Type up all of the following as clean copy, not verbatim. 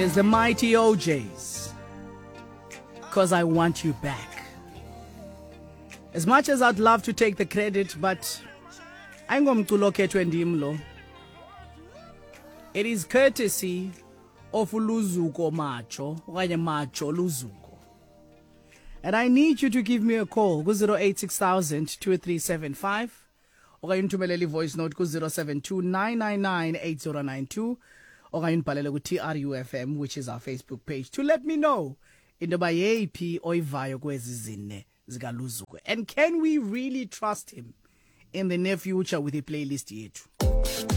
It is the mighty O'Jays. 'Cause I Want You Back. As much as I'd love to take the credit, but ayingomculo okhethwe ndim lo. It is courtesy of Luzuko Macho, okanye Macho Luzuko. And I need you to give me a call ku-086 2375 okanye undithumelele i-voice note ku-072 999 8092 okanye undibhalele ku-TRUFM, which is our Facebook page, to let me know into yoba yeyiphi oyivayo kwezi zine zikaLuzuko, and can we really trust him in the near future with i-playlist yethu.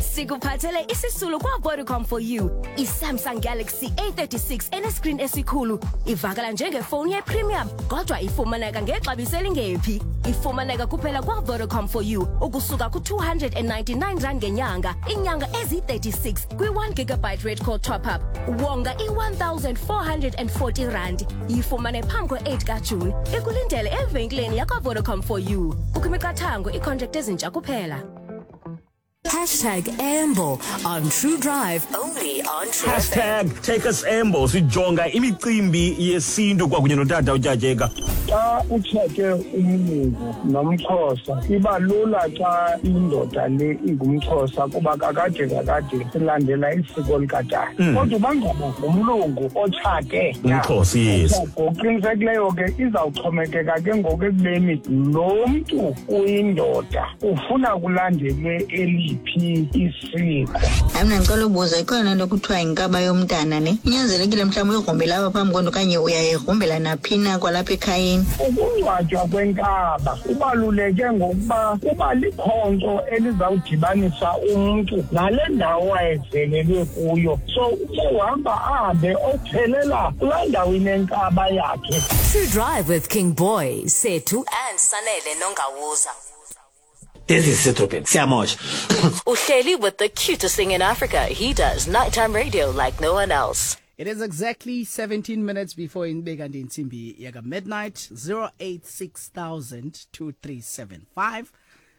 Sikuphathele isisulu kwa-Vodacom for you. I-Samsung Galaxy A36 enescreen esikhulu ivakala njengefowuni ye-premium, kodwa ifumaneka ngexabiso elingephi. Ifumaneka kuphela kwa-Vodacom for you ukusuka ku-R299 ngenyanga, iinyanga eziyi-36 kwi-1 gigabyte red call top-up. Wonga i-R1440. Yifumane phambi kwe-8 kaJuni. Ikulindele evenkileni yakwa-Vodacom for you. Kukho imiqathango, iicontract ezintsha kuphela. #Amble on True Drive, only on True FM. #TakeUsAmble, sijonga imicimbi yesintu kwakunye notata uTyatyeka. Xa utshate umlungu nomXhosa, iba lula xa indoda le ingumXhosa, kuba kakade kakade silandela isiko likatata. Kodwa uba ngaba ngumlungu otshate umXhosa, yes. Ngokuqinisekileyo ke izawuxhomekeka ke ngoku ekubeni lo mntu uyindoda ufuna kulandelwe eliphi isiko. Hayi, mna ndicela ubuza, ikhona nto kuthiwa yinkaba yomntana ne? Inyanzelekile mhlawumbi uyigrumbela apha phambi kwento okanye uyayigrumbela naphi na kwalapha ekhayeni? Ukungcwatywa kwenkaba kubaluleke ngokuba kuba likhonkco elizawudibanisa umntu nale ndawo wayezelelwe kuyo, so ube uhamba ahambe ophelela kulaa ndawo inenkaba yakhe. True Drive with King Boy, Sethu and Sanele Nongawuza. This is Setropet. Siyamosha. Uhleli with the cutest thing in Africa. He does nighttime radio like no one else. It is exactly 17 minutes before inbe kanti intsimbi yaka midnight. 086 2375,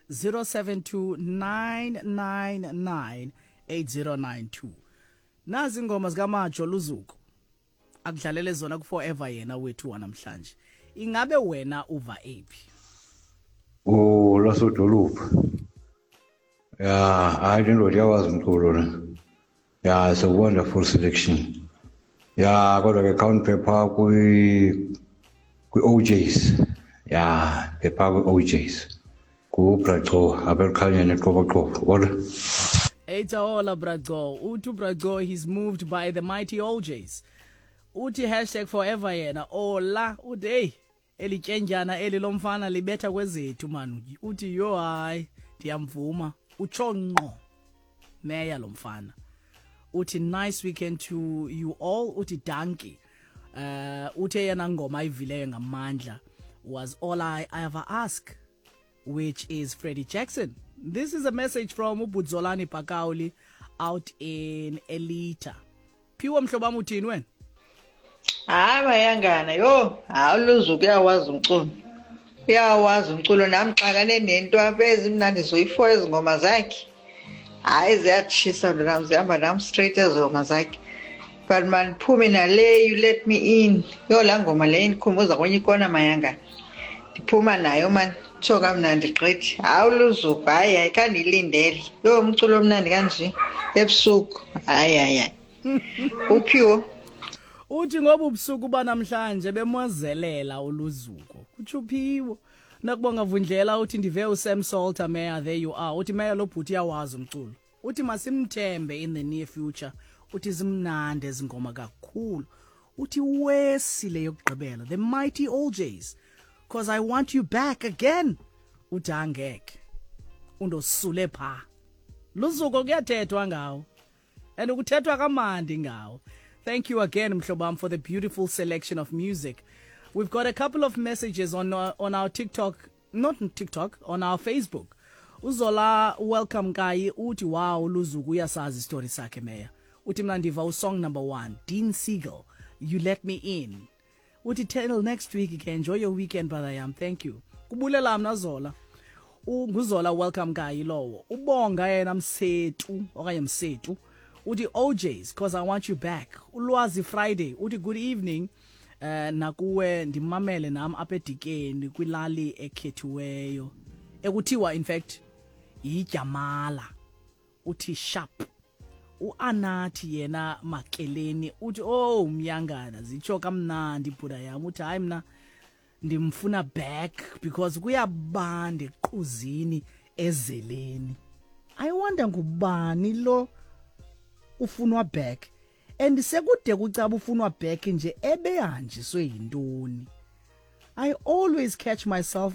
072 999 8092. Nazi ingoma zikaMajo Luzuko akudlalele zona ku-forever yena wethu wanamhlanje. Ingabe wena uva ephi? Oh, lasodolophu. Ya, hayi, le ndoda iyawazi umculo le. Ya, it's a wonderful selection. Ya, kodwa ke khawundiphe kwi-O'Jays. Ya, phepha kwi-O'Jays. KuBraco apha ekukhanyeni eQoboqobo. Hola. Eita hola, Braco. Uthi Braco, he's moved by the mighty O'Jays. Uthi #forever yena. Ola, uthi hey, elityendyana eli lomfana libetha kwezethu man. Uthi yo hayi, ndiyamvuma. Utsho ngqo. Meya lo mfana. Uthi nice weekend to you all. Uthi dankie. Uthe yena ngoma ayivileyo ngamandla was "All I Ever Ask", which is Freddie Jackson. This is a message from uBudzolani Pakauli out in Elita. Phiwa, mhlobo wam, uthini wena? Hayi mayangana, yho, hayi, uLuzuko uyawazi umculo, uyawazi umculo. Nam xakane nento apha ezimnandi zoyi-four ezi ngoma zakhe. Hayi, ziyatshisa ntonam, zihamba nam straight ezi ngoma zakhe, but mandiphume nale "You Let Me In". Yho, laa ngoma leyo indikhumbuza kwenye ikona mayangana, ndiphuma nayo mani, tsho kamnandi gqithi. Hayi, uLuzuko, hayi hayi, khandiyilindele. Yho, umculo omnandi kanje ebusuku, hayi hayi hayi, uphiwo. Uthi ngoba ubusuku banamhlanje bemozelela uLuzuko, kutsho uphiwo. Nakubonga Vundlela uthi ndive uSam Salter, Mayor, there you are. Uthi Mayor, lo bhuti uyawazi umculo. Uthi masimthembe in the near future. Uthi zimnandi ezingoma kakhulu. Uthi wesile yokugqibela, the mighty O'Jays, "'Cause I Want You Back Again". Uthi angeke undosule pha Luzuko, kuyathethwa ngawo and kuthethwa kamandi ngawo. Thank you again, mhlobam, for the beautiful selection of music. We've got a couple of messages on our TikTok, not on TikTok, on our Facebook. Uzola Welcome Kayi uthi wow, Luzuku uyasazi story sakhe, Mayor. Uthi mna ndiva usong number 1, Dean Siegel, "You Let Me In". Uthi till next week ke, enjoy your weekend, brother yam. Thank you, kubulela mna Zola. NguZola Welcome Kayi lowo. Ubonga yena Msetu okanye Msetu. Uthi OJs, "Cause I Want You Back." Ulwazi Friday uthi, "Good evening nakuwe, ndimamele nam apha eDikeni kwilali ekhethiweyo ekuthiwa in fact yiJamala." Uthi sharp. Uanathi yena Makeleni uthi, "Oh Mnyangana, zitsho kamnandi ibhuda yam." Uthi, "Hayi, mna ndimfuna back because kuyabanda equzini ezeleni." I wonder ngubani lo ufunwa back, and sekude kucaba ufunwa back nje, ebehanjiswe yintoni? I always catch myself.